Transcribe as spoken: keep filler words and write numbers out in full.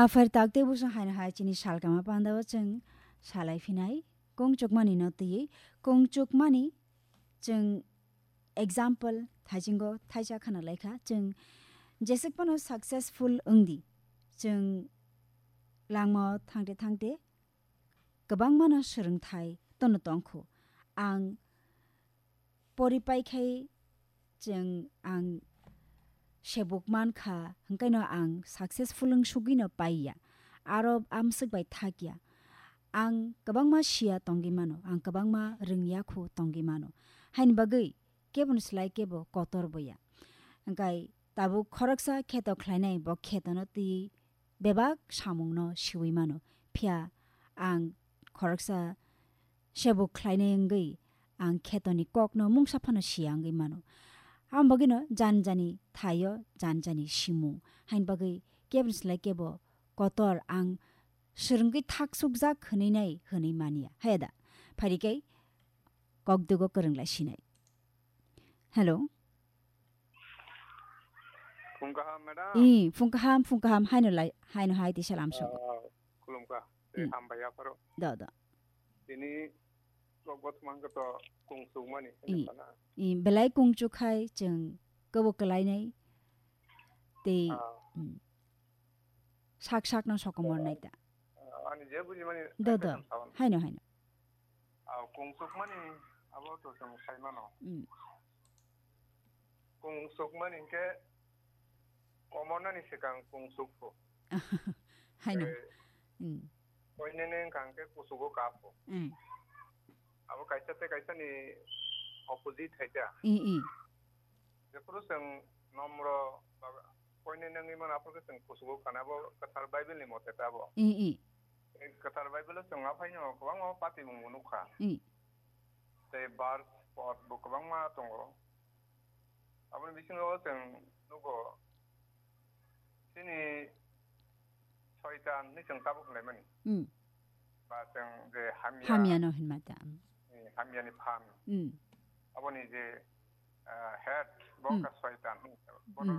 Aphar tak tei bwswng haino hai chini salkama pandao chwng salai phinai. Kung chukmani no twiwi, kung chukmani chwng example thaijingo thaisa khana laikha. Chwng jeswk phano successful wngdi, chwng langmao thangte thangte kwbangmano swrwngthai tono tongkhu. Ang poripai khai chwng ang sebuk mankha, hwnkhaino ang successful wng sugwino paiya. Aro amswk bai thakya. Ang kwbangma siya tongwi mano, ang kwbangma rwngya khu tongwi mano. Haini bagwi keboni slai kebo kotor boya. Hwnkhe tabuk khoroksa kheto khlainai, bo khetono twi bebak samungno siwi mano. Phiya ang khoroksa sebuk khlainai wngwi ang khetoni kokno mungsa phano siya wngwi mano. Aboni bagwino jani jani thaio jani jani simung. Haini bagwi keboni slai kebo kotor ang swrwngwi thaksukjak hwnwi nai hwnwi manya. Haya da? Phaidi khe kokdugo kwrwng lai sinai. Hello. Phung kaham, madam. I, phung kaham, phung kaham, haino lai, haino hai tisa lamsogo. Ah, khulumkha. Tei Mm. hambai yapharo. Do, do. Tini kok bothomang khe to kung chukmani, I. hwnwi sana. I, belai kung chukhai chwng kobo kwlainai. Tei, Ah. mm, sak sakno sokomor nai ta. Ah, ani je bujimani Do, do. Haino, haino. Ah, kung chukmani abo to chwng sai mano. Mm. Kung chukmani hinkhe komornani swkang kung chukphu. Haino. Eh, Mm. koinene wngkha hinkhe kuchugo kaphu. Mm. Abo kaisa tei kaisani opposite hai ta. I, i. Jephuru chwng nomro ba koinene wngwi mano, aphuru khe chwng kuchugo kana, abo kwthar Bible ni mote ta abo. I, i. Kwthar Bible o chwng aphaino kwbangma patimungbo nukha. I. Tei verse, pod bo kwbangma tongo. Aboni bisingo chwng nugo, chini Soitan hinwi chwng tabuk laimani. Mm. Ba chwng je hamya, Hamyano hinma ta. Mm. Eh, hamyani phan. Mm. Aboni je, ah, head, bo Mm. kha Soitan hinwi. Bono Mm.